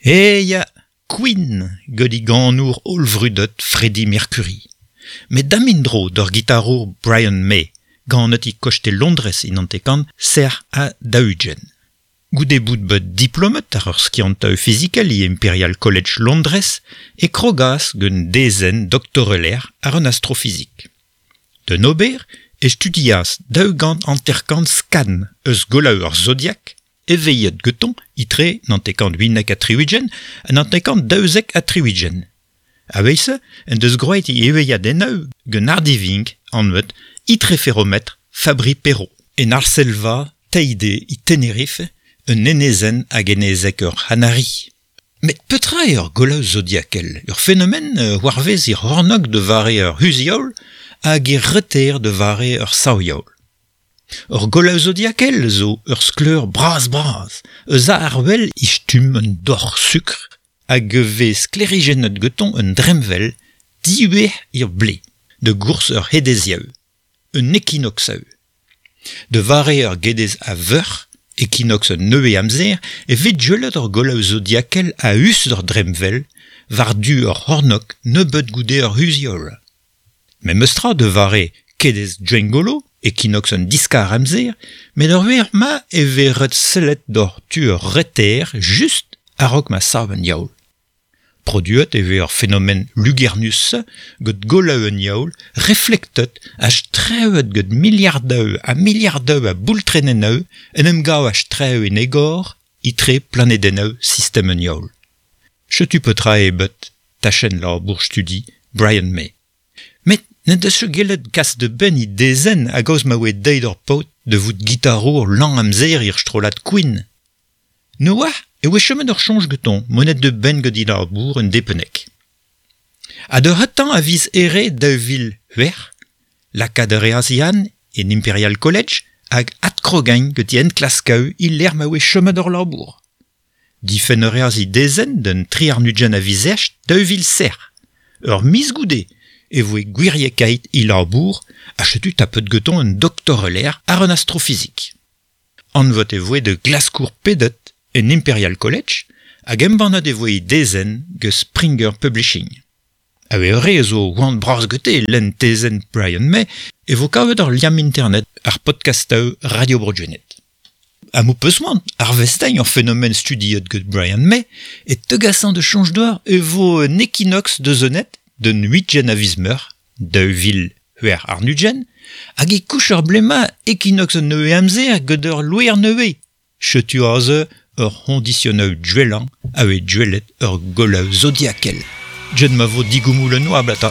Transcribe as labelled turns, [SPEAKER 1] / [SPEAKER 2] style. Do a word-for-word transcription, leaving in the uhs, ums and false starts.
[SPEAKER 1] E ya, Queen gant e ganour hollvrudet Freddie Mercury. Met damindro d'ur gitarour Brian May, ganet e koste Londrez in antekant ser a daou-ugent. Goude bout bet diplomet ar ur skiantaoù fizikel e Imperial College Londrez e krogas gant dezenn doktoreler ar un astrofizik. D'un ober e studias daou gant hanter-kant skan eus golaoù ar zodiak, eveillet geton itre nantekant uinek ha tri-ugent ha nantekant daouzek ha tri-ugent. A-wezh en deus groet e eveilhadennoù gant ardivink anvet itreferomètre Fabry-Perot. En Arselva, Teide e Tenerife, un enezenn hag enezeg ur C'hanari. Met petra eo ur golaoù zodiakel? Ur fenomen war-vez ir c'hornôg de vare ur c'huzh-heol hag ir reter de vare ur sav-heol. Ur golaoù zodiakel zo ur skleur bras-bras, eus a ar wel e stumm un doc'h sukr hag e vez sklêrijennet gantañ un dremmwel diwezh ir blez, de gourz ur hedeziaou, un ekinoxaou. De vare ur gedez a veur, ekinox un nevez amzer, e vez gwelet ur golaoù zodiakel a-us d'ur dremmwel, war-du ur c'hornôg nebeut goude ur c'huzh-heol. Memestra de vare kedez Gwengolo, ekinox un diskar amzer, met ur wech ma e vez ret sellet doc'h tu ur reter just a-raok ma sav an heol. Produet e vez ur fenomen lugernus gant golaoù an heol reflektet ha strewet gant miliardoù ha miliardoù a boultrenennoù en em gav a-strew en egor etre planedennoù sistem an heol. Setu petra eo bet tachenn labour studi Brian May. Met n'en deus ket gellet kas da benn e dezenn a-gaoz ma oa deuet ur paotr da vout gitarour lan amzer er strollad Queen. Ne oa e oa chomet ur soñj gantañ monet da benn gant e labour un depennek. Ha d'ur c'hentañ a viz Here daou vil c'hwec'h, lakaat a reas Yann en Imperial College hag adkrogañ gant e enklaskoù e-lec'h ma oa chomet ur labour. Difenn a reas e dezenn d'un tri warn-ugent a viz East daou vil seizh. Ur miz goude e voe gwiriekaet e labour ha setu tapet gantañ un doktoreler àr an astrofizik. Anvet e voe da glaskour pedet en Imperial College hag embannet e voe e dezenn gant Springer Publishing. A-wezh ur re a zo c'hoant bras gante lenn tezenn Brian May e vo kavet ur liamm internet ar podcastoù Radio Bro Gwened. Ha m'ho peus c'hoant arvestiñ ur fenomen studiet gant Brian May e tegasañ da soñj deoc'h e vo un ekinox da zonet d'un huitgen a viz Meurzh, daou vil c'hwec'h warn-ugent, hag e kouch ar blez-mañ ekinox an nevez amzer gant ur loer nevez. Setu aze ur c'hoñdisionoù gwellañ a vez gwelet ur golaoù zodiakel. Jet ma vo digoumoulennoù ablañ.